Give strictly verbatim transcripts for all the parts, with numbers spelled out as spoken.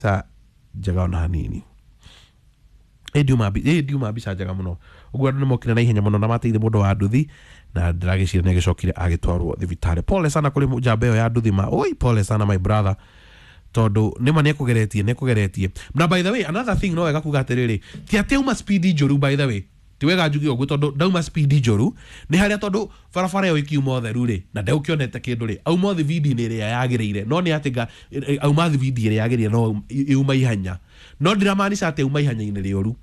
Mbica njega ona hanini. Ĩ ndiuma mbi- ĩ ndiuma mbica njega mũno ũguo. Andũ nĩ mokire na ihenya mũno na mateithia mũndũ wa nduthi, na ndĩragĩciria nĩ agĩcokire agĩtwarwo thibitarĩ. Pole sana kũrĩ njamba ĩyo ya nduthi ma. Oi, pole sana, my brother, tondũ nĩma nĩ ekũgeretie nĩ ekũgeretie. Na by the way, another thing, no wega kuga atĩrĩrĩ, ti atĩ auma speed njũru. By the way, ti wega njuge ũguo, tondũ ndauma speed njũru nĩ harĩa, tondũ barabara ĩyo ĩkiuma ũtheru rĩ, na ndegũkĩonete kĩndũ rĩ, auma thibindi-inĩ ĩrĩa yagĩrĩire. No nĩ atĩ nga- auma thibindi ĩrĩa yagĩrĩire, no iuma ihenya, no ndiramaanisha atĩ auma ihenya-inĩ rĩũru.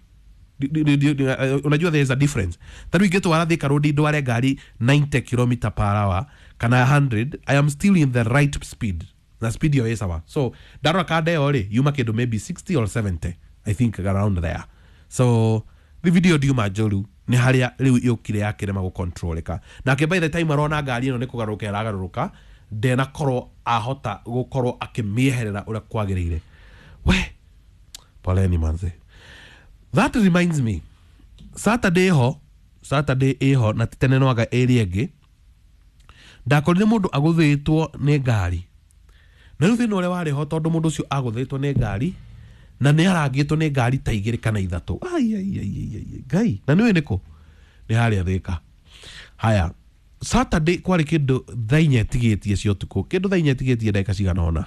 Di- di- di- di- eh, unajua there is a difference. Ta rĩu ingĩtwara Thika Road, ndware ngari ninety kilometers per hour kana one hundred, I am still in the right speed, na speed ĩyo ĩ sawa. So ndarora kanda ĩyo rĩ, yuma kĩndũ maybe sixty or seventy, I think around there. So thibindi ĩyo ndiuma njũru, nĩ harĩa rĩu yũkire yakĩrema gũcontrolĩka. Nake by the time arona ngari ĩno nĩ kũgarũrũka ĩragarũrũka, ndenakorwo ahota gũkorwo akĩmĩeherera ũrĩa kwagĩrĩire. We, poleni manze. That reminds me, Saturday ho, Saturday ĩho na ti tene no anga ĩrĩa ĩngĩ, ndakorire mũndũ agũthĩtwo nĩ ngari. Na rĩu thĩna ũrĩa warĩ ho, tondũ mũndũ ũcio agũthĩtwo nĩ ngari na nĩ arangĩtwo nĩ ngari ta igĩrĩ kana ithatũ. Ai, ai, ai, ai, ai, Ngai! Na nĩũĩ nĩkũ? Nĩ harĩa Thĩka. Haya, Saturday kwarĩ kĩndũ thaa inya ĩtigĩtie cia ũtukũ, kĩndũ thaa inya ĩtigĩtie ndagĩka cigana ũna.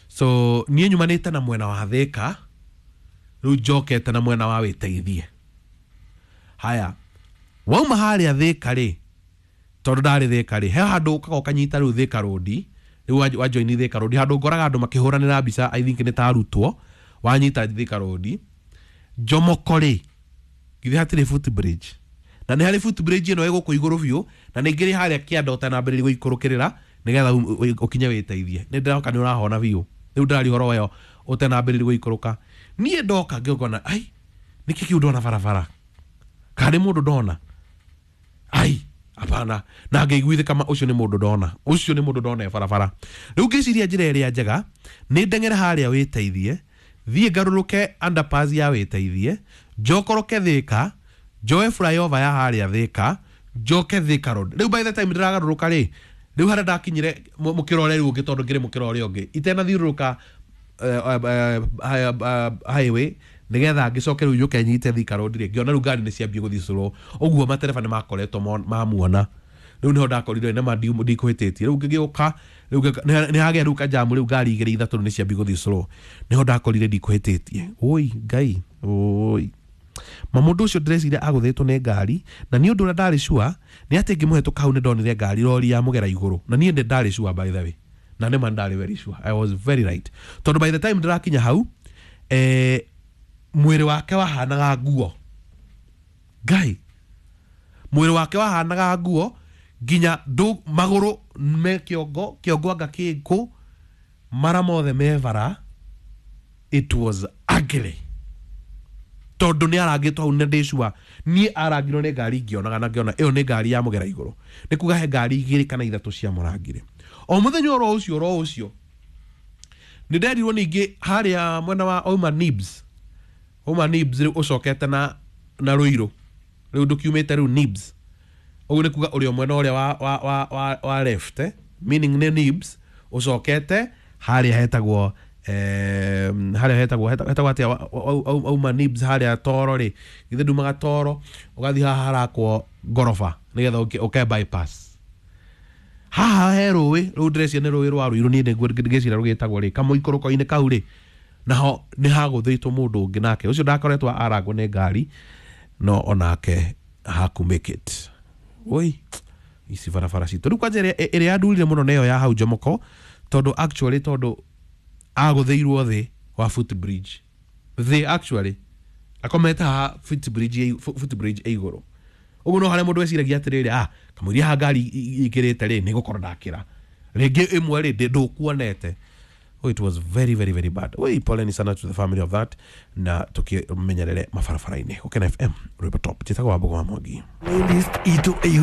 So niĩ nyumanĩte na mwena wa Thĩka, rĩu njokete na mwena wa Wĩteithie. Haya, wauma harĩa Thĩka rĩ, tondũ ndarĩ Thĩka rĩ, he handũ ũkaga ũkanyita rĩu Thĩka Road. Rĩu wa- wa join Thĩka Road, handũ ngoraga andũ makĩhũranĩra mbica, I think nĩ ta arutwo. Wanyita Thĩka Road Jomoko rĩ, githĩ hatirĩ footbridge? Na nĩ harĩ footbridge ĩno ĩ gũkũ igũrũ biũ, na nĩ ngĩrĩ harĩa kĩanda ũtanambĩrĩria gũikũrũkĩrĩra nĩgetha u- u- ũkinye Wĩteithie. Nĩ ndĩroka nĩ ũrahona biũ. Rĩu ndĩraria ũhoro wayo ũtanambĩrĩria gũikũrũka. Niĩ ndoka ngĩona, ai, nĩkĩ kĩu ndona barabara? Kana nĩ mũndũ ndona? Ai, hapana. Na ngĩiguithĩka ma ũcio nĩ mũndũ ndona, ũcio nĩ mũndũ ndona e barabara. Rĩu ngĩciria njĩra ĩrĩa njega nĩ ndeng'ere harĩa Wĩteithie, thiĩ ngarũrũke underpass ya Wĩteithie, njokoroke Thĩka, njoe flyover ya harĩa Thĩka, njoke Thĩka Road. Rĩu by the time ndĩragarũrũka rĩ, rĩu harĩa ndakinyire mũ- mũkĩra ũrĩa rĩu ũngĩ, tondũ ngĩrĩ mũkĩra ũrĩa ũngĩ itenathiũrũrũka eh, eh, eh, eh, highway nigetha ngĩcoke rĩu njũke nyite Thika Road rĩ, ngĩona rĩu ngari nĩ ciambie gũthiĩ slow ũguo, matereba nĩ makoretwo mon- mamuona. Rĩu nĩho ndakorire nĩma ndikũhĩtĩtie. Rĩu ngĩgĩũka rĩu ngĩka- nĩ nĩ hagĩa rĩu kajamu, rĩu ngari igĩrĩ ithatũ nĩ ciambie gũthiĩ slow, nĩho ndakorire ndikũhĩtĩtie. Oi Ngai, oi ma! Mũndũ ũcio ndĩreciria agũthĩtwo nĩ ngari, na nĩ ũndũ ũrĩa ndarĩ sure nĩ atĩ ngĩmũhetũka hau nĩ ndonire ngari rori ya mũgera igũrũ. Na niĩ nĩ ndarĩ sure, by the way, na nĩma ndarĩ very sure, I was very right, tondũ by the time ndĩrakinya hau, eh, mwĩrĩ wake wahanaga nguo. Ngai, mwĩrĩ wake wahanaga nguo, nginya ndũ magũrũ me kĩongo, kĩongo anga kĩkũ, mara mothe me bara. It was ugly, tondũ nĩ arangĩtwo hau, na ndĩ sure niĩ arangirwo nĩ ngari ngĩonaga, na ngĩona ĩyo nĩ ngari ya mũgera igũrũ. Nĩ kuga he ngari igĩrĩ kana ithatũ ciamũrangire o mũthenya oro ũcio oro ũcio. Nĩ nderirwo ningĩ harĩa mwena wa Ouma Nibs, Ouma Nibs rĩu ũcokete na na Rũirũ, rĩu ndũkiumĩte rĩu Nibs, ũguo nĩ kuga ũrĩ o mwena ũrĩa wa, wa, wa, wa, wa left, eh? Meaning nĩ Nibs ũcokete harĩa hetagwo eh, harĩa hetagwo heta- hetagwo atĩa? wa- wa- wa- auma Nibs harĩa Toro rĩ, githĩ ndumaga Toro ũgathiĩ haha harakwo ngoroba nĩgetha ũke ũke bypass haha he rũĩ rũu, ndĩreciria nĩ rũĩ rwa Rũirũ, niĩ nĩguo ngĩciria rũgĩtagwo rĩ, kamũikũrũko-inĩ kau rĩ, naho nĩ hagũthĩtwo mũndũ ũngĩ, nake ũcio ndakoretwo arangwo nĩ ngari, no onake haku make it. Oi, ici barabara citũ rĩu kwanja ĩrĩa ĩrĩa yandurire mũno nĩyo ya hau Jomoko, tondũ actually tondũ agũthĩirwo thĩ wa footbridge, thĩ actually akomete haha footbridge ĩ- footbridge ĩ igũrũ ũguo. No harĩa mũndũ eciragia atĩrĩrĩ, ah, kamũiria haha ngari i- i- ikĩrĩte rĩ, nĩ gũkorwo ndakĩra rĩngĩ ĩmwe rĩ, ndĩ- ndũkuonete. Oh, it was very very very bad. Oi, poleni sana to the family of that, na tukimenyerere mabarabara-inĩ. Gũkena F M, rwĩmbo top. Njĩtagwo Wambugu wa Mwangi. Playlist itũ ĩihũire.